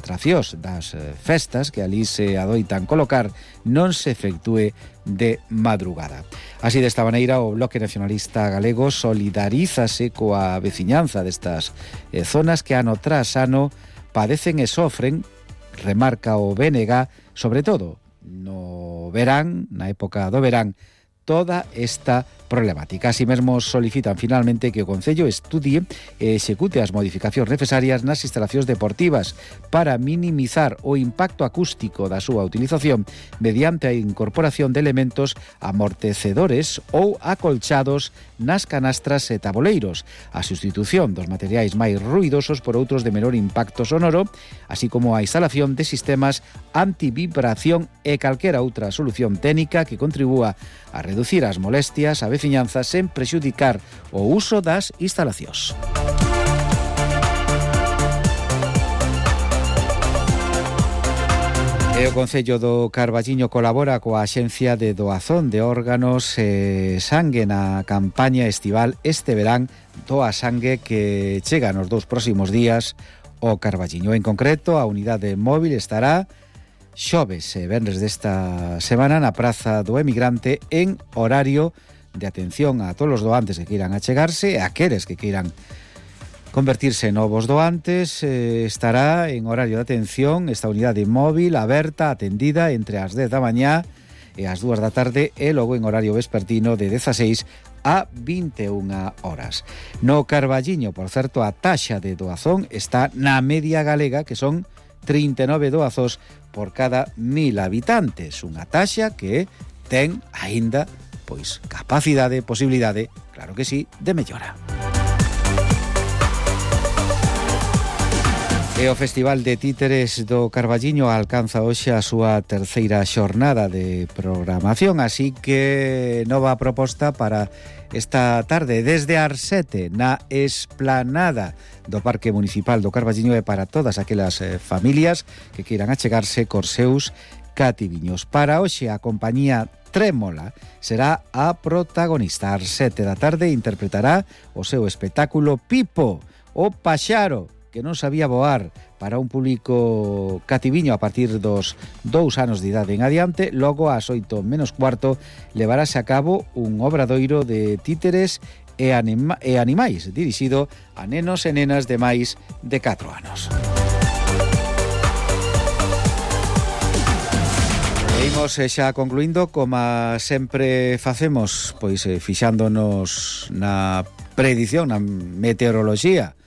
atraccións das festas que ali se adoitan colocar non se efectúe de madrugada. Así, desta maneira, o Bloque Nacionalista Galego solidarízase coa veciñanza destas zonas que ano tras ano padecen e sofren, remarca o BNG, sobre todo no verán, na época do verán, toda esta problemática. Así mesmo solicitan finalmente que o Concello estudie e execute as modificacións necesarias nas instalacións deportivas para minimizar o impacto acústico da súa utilización mediante a incorporación de elementos amortecedores ou acolchados nas canastras e taboleiros, a sustitución dos materiais máis ruidosos por outros de menor impacto sonoro, así como a instalación de sistemas antivibración e calquera outra solución técnica que contribúa a reducir as molestias a veciñanza sen prexudicar o uso das instalacións. E o Concello do Carballiño colabora coa Axencia de Doazón de Órganos e Sangue na campaña estival este verán Doa Sangue que chega nos 2 próximos días ao Carballiño. En concreto, a unidade móvil estará xoves e venres desta semana na Praza do Emigrante en horario de atención a todos os doantes que queiran achegarse e a aqueles que queiran convertirse en novos doantes. Estará en horario de atención esta unidade móvil aberta, atendida entre as 10 da mañá e as 2 da tarde e logo en horario vespertino de 16 a 21 horas. No Carballiño, por certo, a taxa de doazón está na media galega, que son 39 doazos por cada 1000 habitantes. Unha taxa que ten aínda pois capacidade, posibilidade, claro que sí, de mellora. E o Festival de Títeres do Carballiño alcanza hoxe a súa terceira xornada de programación, así que nova proposta para esta tarde desde as 7 na esplanada do Parque Municipal do Carballiño e para todas aquelas familias que queiran achegarse cos seus cativiños. Para hoxe a compañía Trémola será a protagonista. Ás 7 da tarde interpretará o seu espectáculo Pipo, o paxaro que non sabía voar, para un público cativiño a partir dos 2 anos de idade en adiante. Logo, ás 8 menos cuarto, levarase a cabo un obradoiro de títeres e animais dirixido a nenos e nenas de máis de 4 anos. Imos xa concluindo, como sempre facemos, pois fixándonos na predición, na meteoroloxía,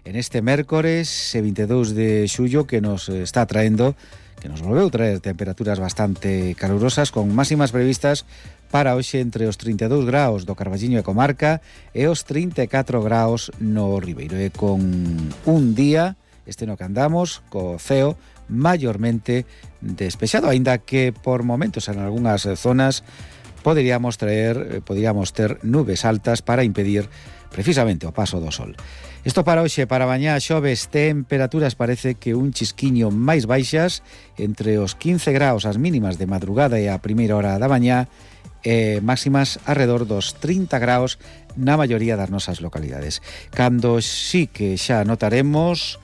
en este mércores 22 de xullo que nos está traendo, que nos volveu traer temperaturas bastante calurosas con máximas previstas para hoxe entre os 32 graus do Carballiño e comarca e os 34 graus no Ribeiro, e con un día, este no que andamos, co ceo maiormente despexado, aínda que por momentos en algunhas zonas poderíamos ter nubes altas para impedir precisamente o paso do sol. Isto para hoxe, para mañá xoves, temperaturas parece que un chisquiño máis baixas, entre os 15 graus as mínimas de madrugada e a primeira hora da mañá, e máximas arredor dos 30 graus na maioría das nosas localidades. Cando sí que xa notaremos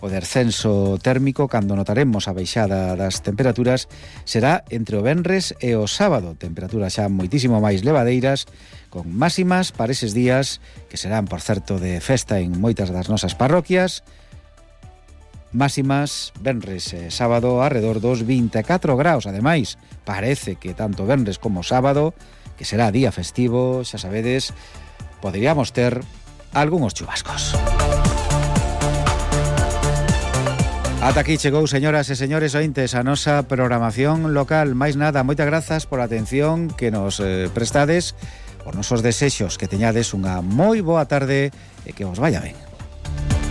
o descenso térmico, cando notaremos a baixada das temperaturas, será entre o venres e o sábado, temperaturas xa moitísimo máis levadeiras, con máximas para eses días, que serán, por certo, de festa en moitas das nosas parroquias, máximas venres e sábado arredor dos 24 graus. Ademais, parece que tanto venres como sábado, que será día festivo, xa sabedes, poderíamos ter algúns chubascos. Ata aquí chegou, señoras e señores ointes, a nosa programación local. Máis nada, moitas grazas pola atención que nos prestades, por nosos desexos, que teñades unha moi boa tarde e que vos vaya ben.